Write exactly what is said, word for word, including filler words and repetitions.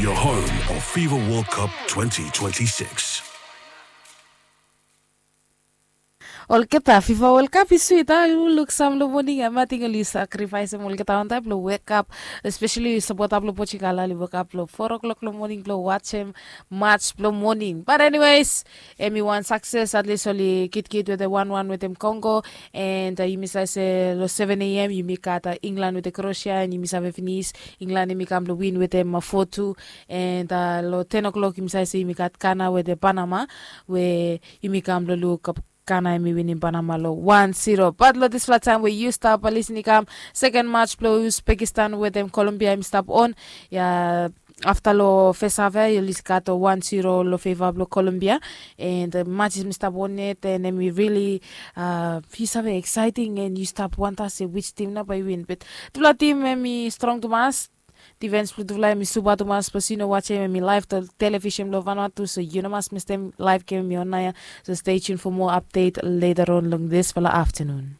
Your home of FIFA World Cup twenty twenty-six. Olgeta, FIFA World Cup i swit a, yu luk sam long moning em, ating oli sakrifaesem olgeta wantaem blong wekap, espeseli sapota blong Portugal oli wekap long four o'clock long moning blong wajem match blong moning. But anyways, em i wan sakses, atlis oli kitkit wetem wan wan wetem Kongo. And yumi save se long seven a.m. yumi gat England wetem Kroasia, and yumi save finis England em i kam blong win wetem four two. And long ten o'clock yumi save se yumi gat Ghana wetem Panama, we yumi kam blong luk Ghana em i winim Panama long one zero. But long disfala taem we yu stap lisin i kam, seken match blong Uzbekistan wetem Colombia em i stap on. Ya, afta long fes haf ya yuli gat one zero long feva blong Colombia. And match em i stap on yet, and em i rili, yu save, exciting, and yu stap wanta se wis tim nao bae i win. But tufala tim em i strong tumas. Difens blong tufala em i supa tumas, bikos yu no wajem em i laev long televisen blong Vanuatu, so yu no mas mistem laev gem em i on naoia. So stay tuned for more update later on long disfala aftanun.